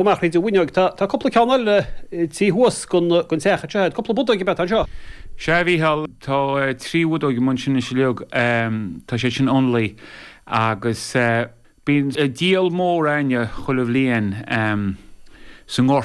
Amach thríd an bhfuinneoig. Tá cúpla ceann eile taobh thuas den teach anseo. Cúpla bodóg ab ea atá anseo? Sea, a Mhícheáil, tá trí bhodóg amuigh ansin anois uilig. Tá siad sin ionlaí agus bíonn díol mór a'inne chuile bhliain sa ngort.